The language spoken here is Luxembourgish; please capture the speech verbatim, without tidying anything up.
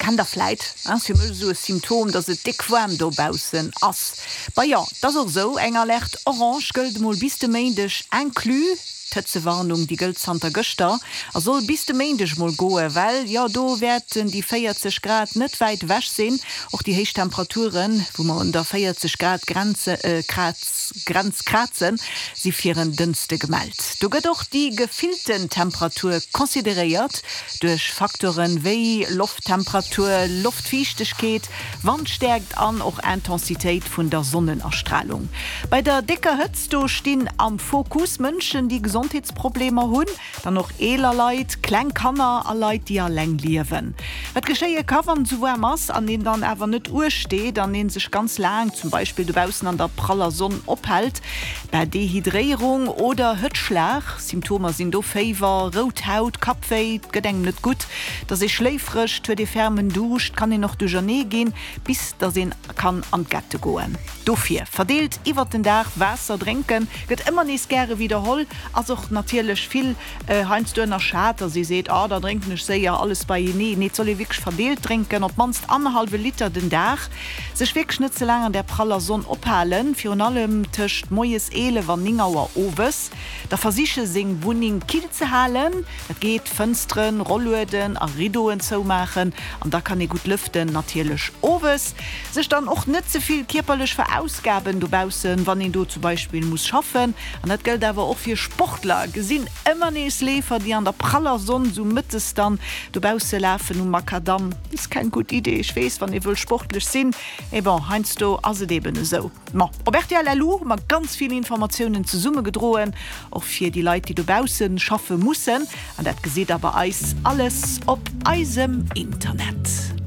Kennt der vläit, ass fir mech esou e Symptom, dass et déck waarm dobaussen ass. Bah jo, 't ass och esou, eng Alerte orange gëllt emol bis de Méindeg inclus. D'Hëtzewarnung, déi gëllt zanter gëschter a soll bis de Méindeg emol goen, well jo do wäerten déi véierzeg Grad net wäit ewech sinn. Och déi héich Temperaturen, wou mer un der véierzeg Grad Grenze Grenz krazen, si fir en Dënschde gemellt. Do gëtt och déi gefillten Temperatur consideréiert, duerch Facteuren wéi Lofttemperatur, Loftfiichtegkeet, Wandstäerkt an och Intensitéit vun der Sonnenastralung. Bei der décker Hëtzt do stinn am Fokus Mënschen, déi Gesondheetsproblemer hunn, dann och eeler Leit, kleng Kanner a Leit, déi alleng liewen. Wat geschéie ka wann et esou waarm ass an een dann awer net uecht steet an ee sech ganz laang zum Beispill dobaussen an der praller Sonn ophält, Bah, Dehydréierung oder Hëtzschlag. Symptomer sinn do Féiwer, rout Haut, Kappwéi, et gëtt engem net gutt, et ass ee schléifreg, et huet ee fermen Duuscht, kann een och duerchernee ginn, bis datt een kann an d'Gette goen. Dofir verdeelt iwwert den Dag Waasser drénken, gëtt ëmmer nees gäre widderholl, ass och natierlech vill heiansdo ënnerschat, datt ee seet, oh da drénken ech séier alles beienee. Nee, et soll ee wierklech verdeelt drénken, op d'mannst annerhallwe Liter den Dag. Sech wierklech net ze laang an där praller Sonn ophalen, virun allem tëscht moies eelef an néng Auer owes. Da versiche seng Wunneng kill ze halen, dat geet, Fënsteren, Rollueden a Riddoen zoumaachen an da kann ee gutt lëften. Natierlech owes. Sech dann och net ze vill kierperlech verausgaben dobaussen, wann een do zum Beispill muss schaffen. An dat gëllt awer och fir Sportler. Gesinn ëmmer nees Leefer, déi an der praller Sonn sou mëttes dann dobausse lafen um Makadamm. Ist keng gutt Idee, ech weess, wann ee wëll sportlech sinn, mee bon, heiansdo ass et eben esou. Ma op rtl LU hu mer ganz vill Informatiounen zesummegedroen, och fir déi Leit, déi dobausse schaffe mussen. An dat gesitt der bei eis alles op eisem Internet.